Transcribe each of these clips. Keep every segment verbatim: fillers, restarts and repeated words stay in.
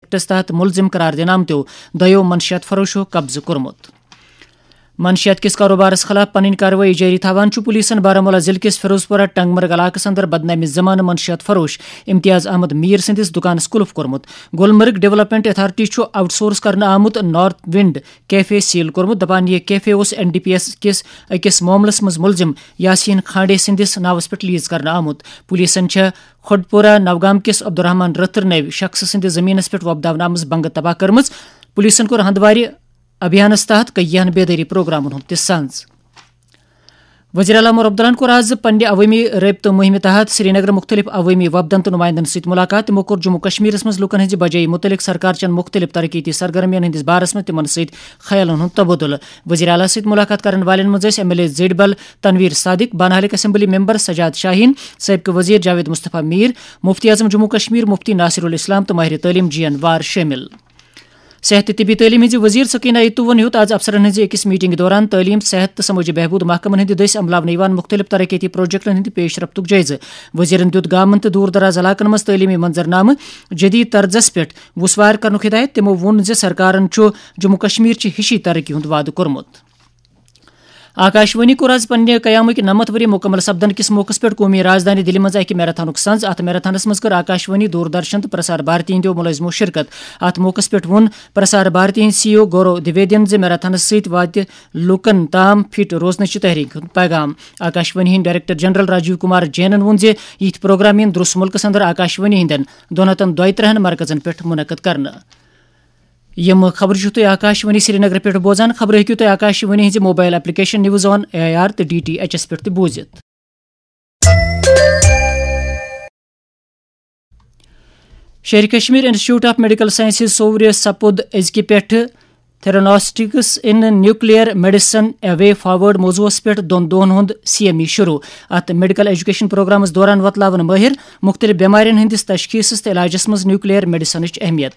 Acts تحت ملزم قرار دینہٕ آمتیو دۄیو منشیات فروشو قبضہٕ کوٚرمُت۔ منشیات کِس کاروبارس خلاف پنٕنۍ کاروٲیی جٲری تھاوان چھُ پولیسن بارہمولہ ضلعہٕ کِس فیروز پورہ ٹنگ مرگ علاقس اندر بدنامِ زمانہٕ منشیات فروش امتیاز احمد میر سٕنٛدِس دُکانس قلف کوٚرمُت۔ گلمرگ ڈیولپمنٹ اتھارٹی چھُ آؤٹ سورس کرنہٕ آمُت نارتھ ونڈ کیفے سیل کوٚرمُت، دپان یہِ کیفے اوس این ڈی پی ایس کِس أکِس معاملس منٛز ملزم یاسین کھانڈے سٕنٛدِس ناوس پٮ۪ٹھ لیز کرنہٕ آمُت۔ پولیسن چھےٚ کھڈپورہ نوگام کِس عبدالرحمان رٔتھر نٲوۍ شخصہٕ سٕنٛدِ زٔمیٖنس پٮ۪ٹھ وۄپداونہٕ آمٕژ بنگہٕ تباہ کٔرمٕژ۔ پولیسن کوٚر ہندوارِ ابھیانس تحت کیٚیہن بیدٲری پروگرامن ہُنٛد تہِ سنز۔ وزیر اعلیٰ عمر عبداللہن کوٚر آز پننہِ عوٲمی رٲبطہٕ مُہِمہِ تحت سرینگر مُختٔلِف عوٲمی وفدن تہٕ نُمایندن سۭتۍ مُلاقات۔ تِمو کوٚر جموں کشمیرس منٛز لوٗکن ہٕنٛزِ بجٲیی مُتعلق سرکار چٮ۪ن مُختٔلِف ترقیتی سرگرمین ہٕنٛدِس بارس منٛز تِمن سۭتۍ خیالن ہُنٛد تبادلہٕ۔ وزیر اعلیٰ سۭتۍ مُلاقات کرن والٮ۪ن منٛز ٲسۍ M L A Zadibal Tanvir Sadiq, بانہالک اسمبلی ممبر سجاد شاہین، سٲبقہٕ وزیر جاوید مصطفیٰ میر، مفتی اعظم جموں کشمیر مفتی ناصر الاسلام تہٕ ماہر تعلیم جی این وار شٲمِل۔ صحت تہٕ طبی تعلیٖم ہٕنٛزِ وزیر سکینہ ایتو وَن ہیوٚت آز افسرن ہٕنٛزِ أکِس میٹنگہِ دوران تعلیٖم، صحت تہٕ سمٲجی بہبود محکمن ہٕنٛدِ دٔسۍ عملاونہٕ یِوان مُختٔلِف ترقیتی پروجیکٹن ہٕنٛدِ پیش رفتُک جٲیزٕ۔ وزیرن دیُت گامن تہٕ دوٗر دراز علاقن منٛز تعلیٖمی منظرنامہٕ جدید طرزس پٮ۪ٹھ وُسوار کرنُک ہدایت۔ تِمو ووٚن زِ سرکارن چھُ جموں کشمیر چہِ ہِشی ترقی ہُنٛد وعدٕ کوٚرمُت۔ آکاشوانی کوٚر آز پننہِ قیامٕکۍ نَمَتھ ؤری مُکمل سپدن کِس موقعس پٮ۪ٹھ قومی رازدانی دِلہِ منٛز اکہِ میراتھنُک سنز۔ اتھ میراتھنس منٛز کٔر آکاشوانی، دوردرشن تہٕ پرسار بھارتی ہٕنٛدیو مُلٲزمو شرکت۔ اتھ موقعس پٮ۪ٹھ ووٚن پرسار بھارتی ہٕنٛدۍ سی ای او گورو دویدین زِ میراتھنس سۭتۍ واتہِ لوٗکن تام فٹ روزنٕچہِ تحریک ہُنٛد پیغام۔ آکاشوانی ہٕنٛدۍ ڈائریکٹر جنرل راجیو کمار جینن ووٚن زِ یِتھۍ پروگرام یِن درُس مُلکس اندر آکاشوانی ہٕنٛدٮ۪ن دۄن ہتن دۄیہِ ترٕہن مرکزن پٮ۪ٹھ منعقد کرنہٕ۔ یِم خبرٕ چھِو تُہۍ آکاشوانی سرینگر پٮ۪ٹھ بوزان۔ خبرٕ ہیٚکِو تُہۍ آکاشوانی ہٕنٛزِ mobile application news on A I R تہٕ ڈی ٹی ایچ ایس پٮ۪ٹھ تہِ بوٗزِتھ۔ Sher Kashmir institute of medical sciences صوورِ سپُد أزکہِ پٮ۪ٹھٕ Theranostics in Nuclear Medicine: A Way Forward موضوعس پٮ۪ٹھ دۄن دۄہن ہُنٛد سی ایم ای شروع۔ اتھ میڈیکل ایجوکیشن پروگرامس دوران وۄتلاون مٲہر مُختٔلِف بٮ۪مارٮ۪ن ہٕنٛدِس تشخیصس تہٕ علاجس منٛز نیوکلیئر میڈیسنٕچ اہمیت۔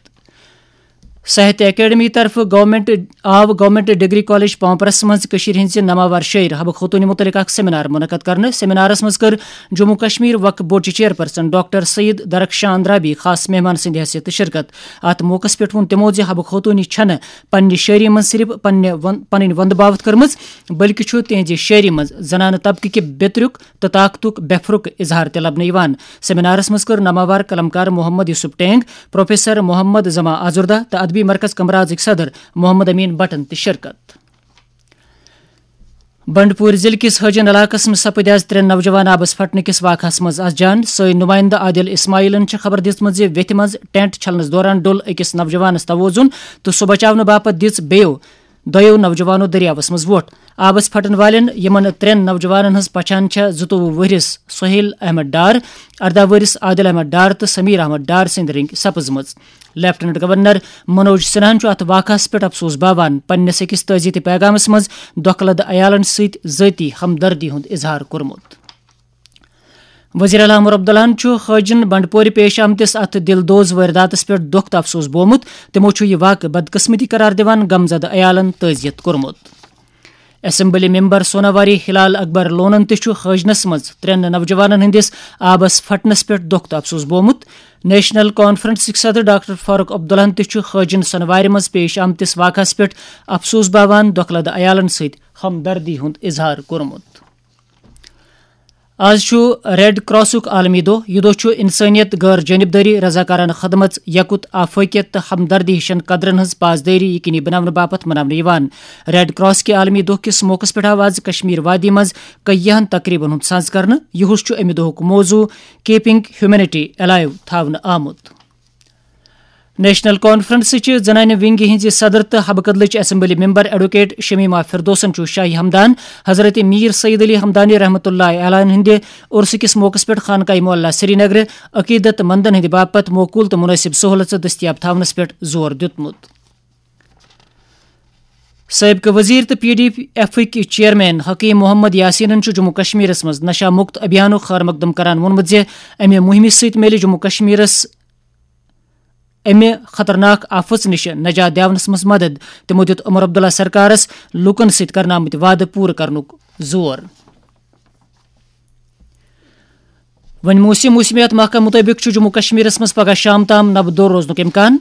ساہتیہ اکیڈمی طرفہٕ گورنمنٹ آو گورنمنٹ ڈگری کالج پامپرس منٛز کٔشیٖرِ ہٕنٛزِ ناماوار شٲعر حبہٕ خوتوٗنہِ مُتعلق اکھ سیمینار منعقد کرنہٕ۔ سیمینارس منٛز کٔر جموں کشمیر وقف بورڈٕچ چیئرپرسن ڈاکٹر سید درخشان اندرابی خاص مہمان سٕنٛدِ حیثیتہٕ شرکت۔ اتھ موقعس پٮ۪ٹھ ووٚن تِمو زِ حبہٕ خوتوٗنہِ چھنہٕ پننہِ شٲعری منٛز صرف پننہِ ون-، پنٕنۍ وندٕ باوتھ کٔرمٕژ، بلکہِ چھُ تِہنٛزِ شٲعری منٛز زنانہٕ طبقہٕ کہِ بیترُک تہٕ طاقتُک بے پھرُک اظہار تہِ لبنہٕ یِوان۔ سیمینارس منٛز کٔر ناماوار قلمکار محمد یوسف ٹینگ، پروفیسر محمد زما آزردہ تہٕ ادبی مرکز کمرازٕکۍ صدر محمد امین بٹن تہِ شرکت۔ بنڈپور ضلعہٕ کِس حٲجِن علاقس منٛز سپٕدۍ آز ترٛےٚ نوجوان آبس پھٹنہٕ کِس واقعس منٛز از جان۔ سٲنۍ نمائندٕ عادل اسماعیلن چھِ خبر دِژمٕژ زِ ویتھِ منٛز ٹینٹ چھلنس دوران ڈوٚل أکِس نوجوانس توازن تہٕ سُہ بچاونہٕ باپتھ دِژ بیٚیو دۄیو نوجوانو دٔریاوس منٛز وۄٹھ۔ آبس پھٹن والٮ۪ن، یِمن ترٛٮ۪ن نوجوانن ہٕنٛز پہچان چھےٚ زٕتووُہ ؤہرِس سہیل احمد ڈار، ارداہ ؤہرِس عادل احمد ڈار تہٕ سمیر احمد ڈار سٕنٛدِ رٔنگۍ سپٕزمٕژ۔ لیفٹیننٹ گورنر منوج سنہاہن چھُ اتھ واقعس پٮ۪ٹھ افسوس باوان۔ پننِس أکِس تعزیتی پیغامس منٛز دۄکھٕ لدٕ عیالن سۭتۍ ذٲتی ہمدردی ہُنٛد اظہار کوٚرمُت۔ وزیر اعلیٰ عمر عبداللہن چھُ حٲجِن بنڈپورِ پیش آمتِس اتھ دِل دوز وٲرۍداتس پٮ۪ٹھ دۄکھ تہٕ افسوس بوومُت۔ تِمو چھُ یہِ واقعہٕ بدقسمتی قرار دِوان غمزدٕ عیالن تعزیت کوٚرمُت۔ اسمبلی ممبر سوناواری ہلال اکبر لونن تہِ چھُ حٲجنس منٛز ترٛٮ۪ن نوجوانن ہٕنٛدِس آبس پھٹنس پٮ۪ٹھ دۄکھ تہٕ افسوس بوومُت۔ نیشنل کانفرنسٕکۍ صدر ڈاکٹر فاروق عبداللہن تہِ چھُ حٲجِن سوناوارِ منٛز پیش آمتِس واقعس پٮ۪ٹھ افسوس باوان دۄکھٕ لدٕ عیالن سۭتۍ ہمدردی ہُنٛد اظہار کوٚرمُت۔ آز چھُ ریڈ کراسُک عالمی دۄہ۔ یہِ دۄہ چھُ انسٲنیت، غٲر جانبدٲری، رضاکارانہٕ خدمت، یقت، آفٲقیت تہٕ ہمدردی ہِشن قدرن ہٕنٛز پاسدٲری یقینی بناونہٕ باپتھ مناونہٕ یِوان۔ ریڈ کراس کہِ عالمی دۄہ کِس موقعس پٮ۪ٹھ آو آز کشمیر وادی منٛز کیہن تقریبن ہُنٛد ساز کرنہٕ۔ یُہُس چھُ امہِ دۄہُک موضوع کیپنگ ہیومینٹی الائیو تھاونہٕ آمُت۔ نیشنل کانفرنسٕچہِ زنانہِ ونگہِ ہٕنٛزِ صدر تہٕ حبہٕ کدلٕچ اسمبلی ممبر ایڈوکیٹ شمیمہ فردوسن چھُ شاہی ہمدان حضرت میر سید علی ہمدانی رحمتہ اللہ علیہ ہٕنٛدِ عرسہٕ کِس موقعس پٮ۪ٹھ خانقاہ معلیٰ سرینگرٕ عقیدت مندن ہٕنٛدِ باپتھ موقول تہٕ مناسب سہولژٕ دٔستیاب تھاونس پٮ۪ٹھ زور دیُتمُت۔ سٲبقہٕ وزیر تہٕ P D ایفٕکۍ chairman Hakim Muhammad یاسینن چھُ جموں کشمیرس منٛز نشہ مکت ابھیانُک خیر مقدم کران ووٚنمُت زِ امہِ مُہِمہِ سۭتۍ میلہِ جموں کشمیرس امہِ خطرناک آفژ نِش نجات دِیاونس منٛز مدد۔ تِمو دیُت عمر عبداللہ سرکارس لوٗکن سۭتۍ کرنہٕ آمٕتۍ وعدٕ پوٗرٕ کرنُک زور۔ وۄنۍ موسم۔ موسمیات محکمہٕ مُطٲبِق چھُ جموں کشمیرس منٛز پگہہ شام تام نبہٕ دور روزنُک امکان۔